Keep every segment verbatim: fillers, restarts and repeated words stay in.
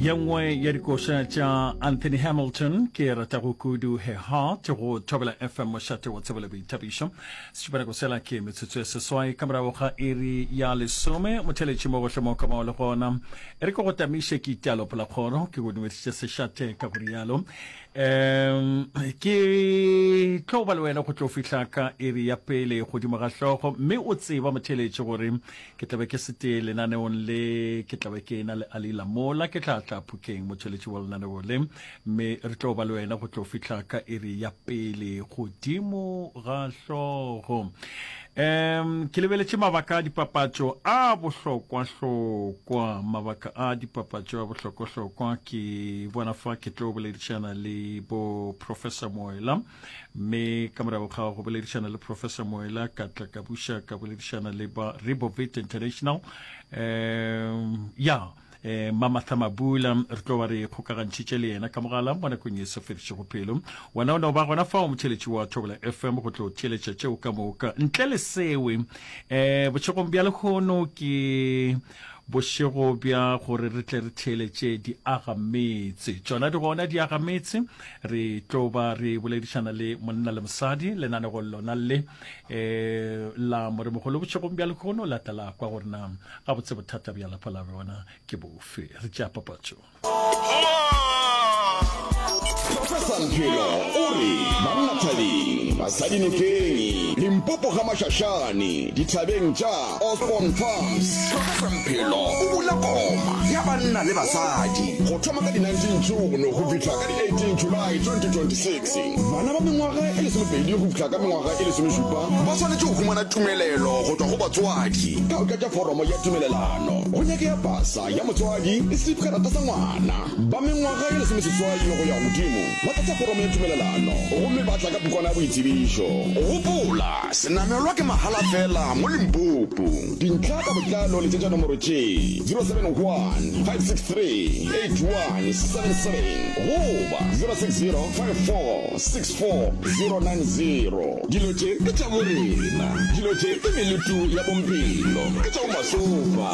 Ye nngwe ya dikoša tša Anthony Hamilton ke ratago kudu Her Heart go Thobela F M mošate wa tsebo le boithabišo. Sešupanako sela ke metsotso ya seswai ka morago ga iri ya lesome. Motheletši mo gohle mo ka bao le gona. E re ke go tamiše ke italo polakgoro ke go dumedišitše sešate ka go rialo. Um ke tlo ba le wena go tlo fihla ka iri ya pele godimo ga hlogo mme o tseba motheletši gore ke tlabe ke sete lenaneong le ke tlabe ke na le Alila mola ke tla tla Phokeng motheletši wa lenaneo le mme re tlo ba le wena go tlo fihla ka iri ya pele godimo ga hlogo. Um ke lebeletše mabaka a dipapatšo a bohlokwahlokwa, mabaka a dipapatšo a bohlokwahlokwa ke bona fa ke tlo boledišana le bo Professor Moela mme ka morago ga go boledišana le Professor Moela ka tla ka buša ka boledišana le ba Rebovit International um ya eh, Mamatha Mabula re tlo ba re kgokagantšhitše le yena ka mogala mo nakong ye sa fedišego pelo. Wena o no ba gona fao motheletši wa Thobela F M go tlo theeletša tšeo ka moka. Ntle le sewe eh, bošegong bja lehono ke bošego bja gore re tle re theeletše diagametse. Tšona di gona diagametse, re tlo ba re boledišana le monna le mosadi lenanego lona le eh, la moremogolo bošegong bja lehono la tla la kwa gore na gabotse bothata bja lapa la bona ke bofe. Re tšea papatšo. Professor Mphelo o re banna thabeng, basadi nokeng, Limpopo ga Mashashane, dithabeng tša Osborne Farms. Professor Mphelo o bula koma ya banna le basadi go thoma ka di nineteen June go fihla ka di eighteen July twenty twenty-six. Bana ba mengwaga e lesomepedi go fihla ka mengwaga e lesomešupa ba swanetše go humana tumelelo go tšwa go batswadi ka go tlatša foromo ya tumelelano. Go nyakega pasa ya motswadi le setifikarata sa ngwana. Ba mengwaga e lesomeseswai go ya godimo ba tlatša foromo ya tumelelano gomme ba tla ka pukwana ya boitsebišo. Gopola, senamelwa ke mahala fela mo Limpopo. Dintlha ka botlalo letšetša nomoro tše zero seven one five six three eight one seven seven goba zero six zero five four six four zero nine zero. Dilo tše ke tša borena, dilo tše ke melutu ya bomphelo, ke tša bomasopa.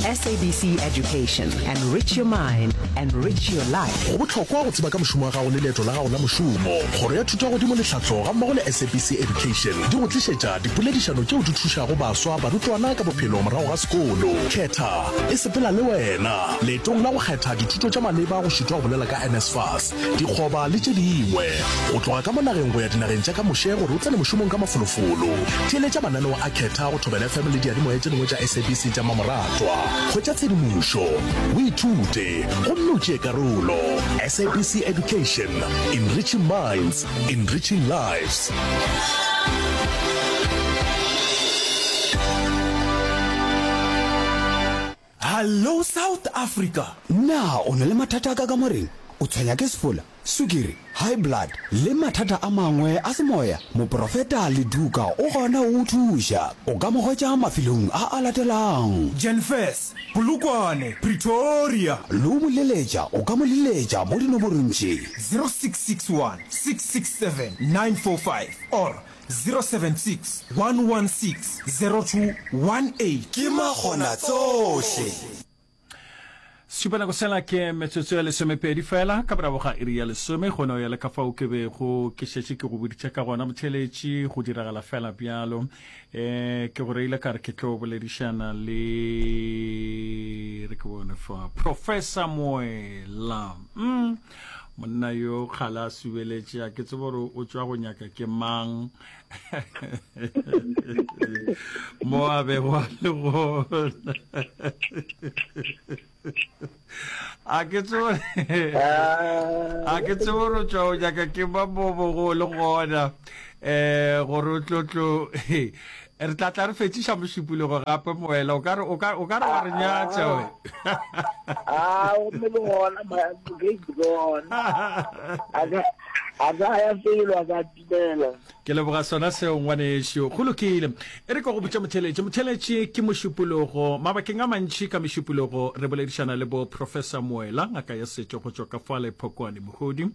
S A B C Education. Enrich your mind, enrich your life. Go bohlokwa go tseba ka mošomo wa gago le leeto la gago la mošomo. Kgoro ya Thuto ya Godimo le Tlhahlo gammogo le S A B C Education di go tlišetša dipoledišano tšeo di thušago baswa barutwana ka bophelo morago ga sekolo. Khetha e sepela le wena leetong la go kgetha dithuto tša maleba go šitwa go bolela ka N S F A S, dikgoba le tše dingwe. Go tloga ka mo nageng go ya dinageng tša ka moše gore o tsene mošomong ka mafolofolo. Theeletša mananeo a Khetha go Thobela F M le diyalemoya tše dingwe tša S A B C tša mamoratwa. Hwetša tshedimošo, o ithute gomme o tšee karolo. S A B C Education, enriching minds, enriching lives. Hallo South Africa! Na o na le mathata a ka kamoreng? O tshwenya ke sefola, sukiri, high blood le mathata a mangwe a semoya? Moprofeta Leduka o gona go o thuša. O ka mo hwetša mafelong a a latelang. Jenfes, Polokwane, Pretoria. Le o mo leletša, o ka mo leletša mo dinomorong tše. zero six six one six six seven nine four five or zero seven six one one six zero two one eight. Ke makgona tsohle. Sešupanako sela ke metsotso ya lesomepedi fela ka morago ga iri ya lesome. Go no ya le ka fao ke bego ke šetše ke go boditše ka gona motheletši, go diragala fela bjalo. um ke go reile ka re ke tlo boledišana le re ke bone fa Professor Moela. mm. monna yo kgale a subeletše, a ke tsebe gore o tšwa go nyaka ke mang mo a bego a le gona. A ke tsebe a ke tsebe gore o tšwa go nyaka ke mang mo bogo le gona um gore o tlo tlo re tla tla re fetšiša mošupologo gape. Moela o ka re o ka o ka re wa re nyatša we. A gomme le gona ke gona a A ka ya felo a ka timela. Ke leboga sona seo ngwanešu. Go lokile. E re ke go botše motheeletši. Motheeletši ke Mošupologo. Mabakeng a mantši ka Mešupologo re boledišana le bo Professor Moela, ngaka ya setšo go tšwa ka fale Phokwane Mogodi.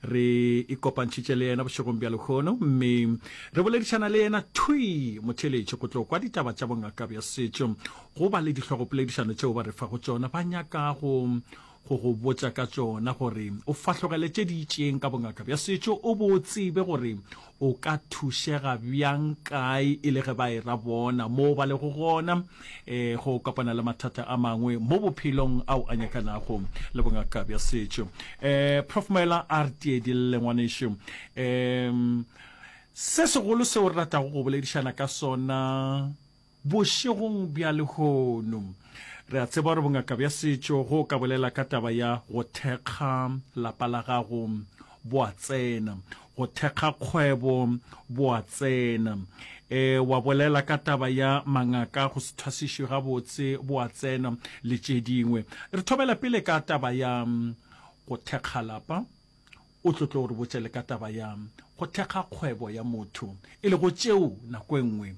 Re ikopantšhitše le yena bošegong bja lehono mme re boledišana le yena thwi motheeletši go tlo kwa ditaba tša bongaka bja setšo. Go ba le dihlogopoledišano tšeo ba re fago tšona ba nyaka go go go botša ka tšona gore o fahlogele tše di itšeng ka bongaka bja setšo o bo o tsebe gore o ka thušega bjang kae e le ge ba e ra bona mo ba lego gona e go kopana le mathata a mangwe mo bophelong ao a nyakanago le bongaka bja setšo. E Prof Moela a re tiedille ngwanešu. E se segolo seo re ratago go boledišana ka sona Bošegong bja lehono, re a tseba gore bongaka bja setšo go ka bolela ka taba ya go thekga lapa la gago bo a tsena, go thekga kgwebo bo a tsena, e, wa bolela ka taba ya mangaka go se thwasišwe gabotse bo a tsena le tše dingwe. Re thomela pele ka taba ya go thekga lapa. O tlo tlo re botša le ka taba ya go thekga kgwebo ya motho, e lego tšeo nako e nngwe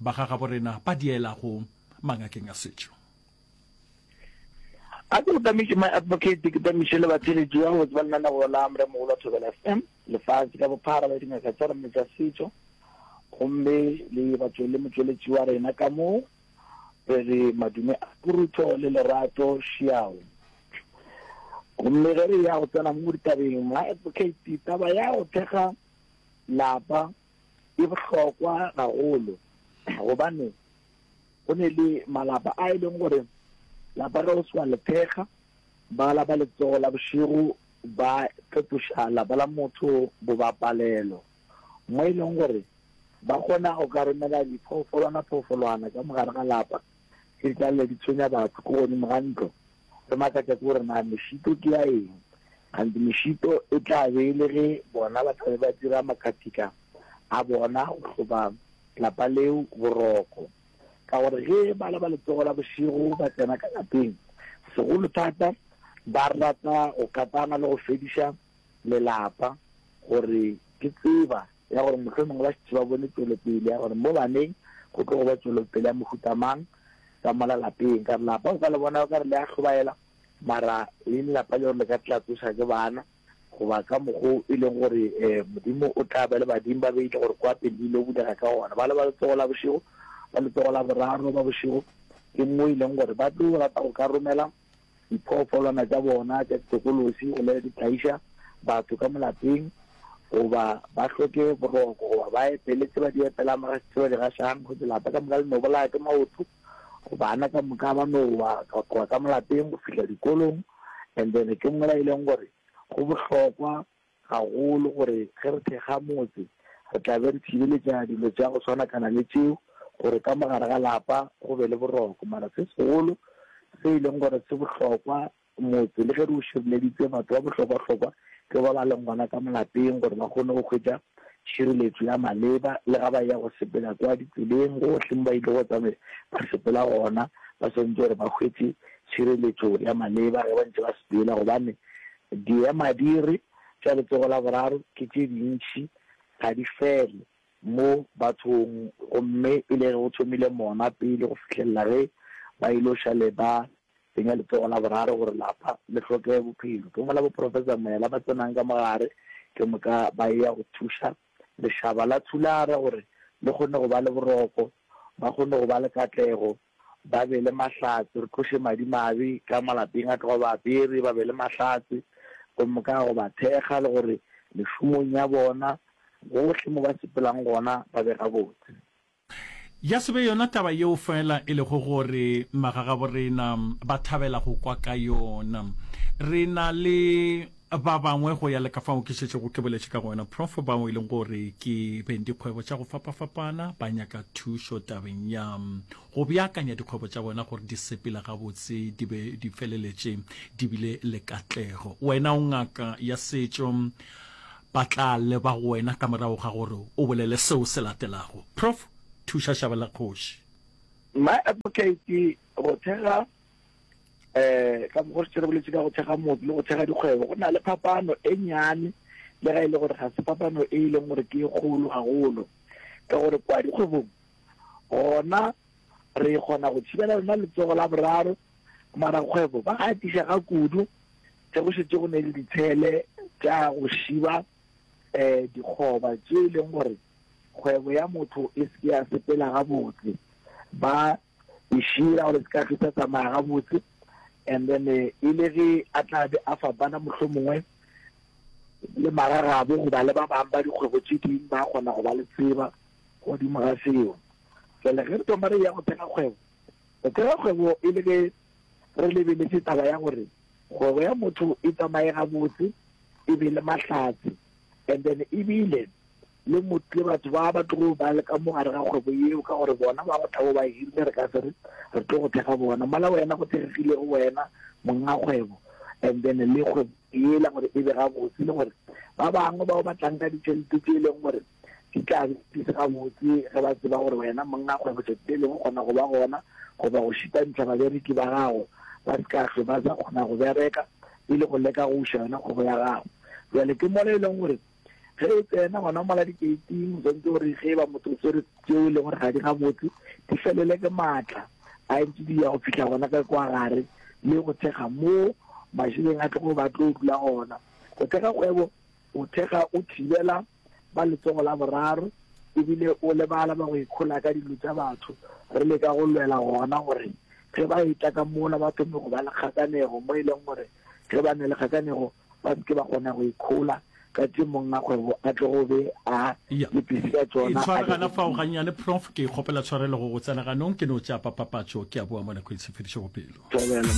ba ga gabo rena ba di elago mangakeng a setšo. A ke go tamiše my advocate, ke tamiše le batheeletši ba gabotse ba lenaneo la Moremogolo wa Thobela F M, lefase ka bophara la dingaka tša rena tša setšo, gomme le batšwe le motšweletši wa rena ka mo re re madume a borutho le lerato šiao. Gomme ge re ya go tsena mo ditabeng, my advocate, taba ya go thekga lapa e bohlokwa gagolo, gobane go ne le malapa a e leng gore lapa ge o se wa le thekga, ba la ba letsogo la bošego ba fetoša lapa la motho bobapalelo, mo e leng gore ba kgona go ka romela diphoofolwana-phoofolwana ka mogare ga lapa tše di tla lle di tshwenya batho ko godimo ga ntlo. Re makatša ke gore na mešito ke ya eng, kganthe mešito e tla be e le ge bona ba tla be ba dira makatika a bona go hloba lapa leo boroko. Ka gore ge bala ba letsogo la bošego ba tsena ka lapeng, segolo thata ba rata go katana le go fediša lelapa, gore ke tseba ya gore mohlomongwe ba šetše ba bone tšwelopele ya gore mo baneng go tlo go ba tšwelopele ya mohuta mang ka mola lapeng. Ka re lapa o ka le bona o ka re le a hlobaela, mara e le lapa le gore le ka tla tsoša ke bana, goba ka mokgo e leng gore um Modimo o tla ba le badimo ba beile gore kwa pele di ile bulega ka gona. Ba le ba letsogo la bošego, ba letsogo la boraro ba bošego, ke mo e leng gore ba tlo rata go ka romela diphoofolwana tša bona tša ditokolosi go le di tlaiša batho ka molapeng, goba ba hloke boroko, goba ba epele tse ba di epelang, ba gaše tse ba di gašang, go lapa ka moka le no bolaya ke maoto, bana ka moka ba no wa go tloga ka molapeng go fihla dikolong. And then ke mola e leng gore go bohlokwa gagolo gore ge re thekga motse re tla be re thibeletša dilo tša go swanakana le tšeo, gore ka mogare ga lapa go be le boroko. Mara se segolo se e leng gore se bohlokwa motse, le ge re o šireleditse, batho ba bohlokwa-hlokwa ke ba ba leng gona ka molapeng, gore ba kgone go hwetša tšhireletšo ya maleba, le ga ba ya go sepela kwa ditseleng gohle mo ba ile go tsamaya ba sepela gona, ba swanetše gore ba hwetše tšhireletšo ya maleba ge ba ntše ba sepela, gobane diemadiri tša letsogo la boraro ke tše dintši, ga di fele mo bathong, gomme e le ge go thomile mona pele go fihlelela ge ba ile šale ba tsenya letsogo la boraro gore lapa le hloke bophelo. Ke mola boprofesa Moela ba tsenang ka mogare, ke moka ba ya go thuša lešaba la Thulara gore le kgone go ba le boroko, ba kgone go ba le katlego, ba be le mahlatse, re tloše madimabe ka malapeng a tloga ba apere, ba be le mahlatse, gomme ka go ba thekga le gore mešomong ya bona gohle mo ba sepelang gona ba be gabotse. Ya se be yona taba yeo feela e lego gore magagaborena ba thabela go kwa ka yona. Re na le ba bangwe go ya le ka fao ke šetšego ke boletše ka gona, Prof, bao e leng gore ke beng dikgwebo tša go fapafapana, ba nyaka thušo tabeng ya go beakanya dikgwebo tša bona gore di sepele gabotse, di be di feleletše di bile le katlego. Wena o ngaka ya setšo, ba tla leba go wena ka morago ga gore o bolele seo se latelago. Prof, thuša šaba la kgoši. My advocate, go thekga um ka mokgwa re šetše re boletše ka go thekga motse le go thekga dikgwebo, go na le phapano e nnyane Le ga e le gore ga se fapano e e leng gore ke e kgolo gagolo, ka gore kwa dikgwebong gona re kgona go thibela lona letsogo la boraro, mara kgwebo ba gatiša ga kudu ge go šetše go ne le ditshele tša go šiba um dikgoba tše e leng gore kgwebo ya motho e se ke ya sepela gabotse, ba e šira gore se ka hlwe tsamaya gabotse. And then e le ge a tla be a fapana mohlomongwe le magagabo goba le ba bangwe ba dikgwebo tše dingwe, ba kgona go ba le tseba godimo ga seo. Jale ge re thoma re ya go thekga kgwebo, go thekga kgwebo e le ge re lebeletše taba ya gore kgwebo ya motho e tsamaye gabotse, e be le mahlatse, and then ebile le motho le batho ba ba tlogo ba le ka mo gare ga kgwebo yeo, ka gore bona ba go tlabo ba hirile, re ka se re re tlo go thekga bona mola wena go thekgegilego wena monga kgwebo, and then le kgwebo yela gore e be gabotse, le gore ba bangwe bao ba tlang ka ditšhelete tše e leng gore di tla be di se gabotse, ge ba tseba gore wena monga kgwebo tšatši le lengwe kgona go ba gona goba go šitantšha babereki ba gago, ba se ka hlwe ba sa kgona go bereka e le go leka go uša yona kgwebo ya gago. Jale ke mola e leng gore ge e tsena gona mola dikeiting, o swanetše gore ge e ba motho o swere tšeo e leng gore ga di gabotse, di felele ke maatla a ntše di ya go fihla gona ka kwa gare, le go thekga mo mašeleng a tlogo ba tlo dula gona. Go thekga kgwebo, o thekga o thibela ba letsogo la boraro, ebile o lebala ba go ikhola ka dilo tša batho. Re leka go lwela gona gore ge ba etla ka mola ba thome go ba le kgakanego, mo e leng gore ge ba ne le kgakanego ba se ke ba kgona go ikhola ka tše monga kgwebo a tlogo be a Ya. lepisi ka tšona. E tshware gana fao gannyane, Prof. Ke kgopela tshwarelo go go tsena ganong, ke no tšapa papatšo, ke a boa mo nako e se fedišego pelo. Thobela.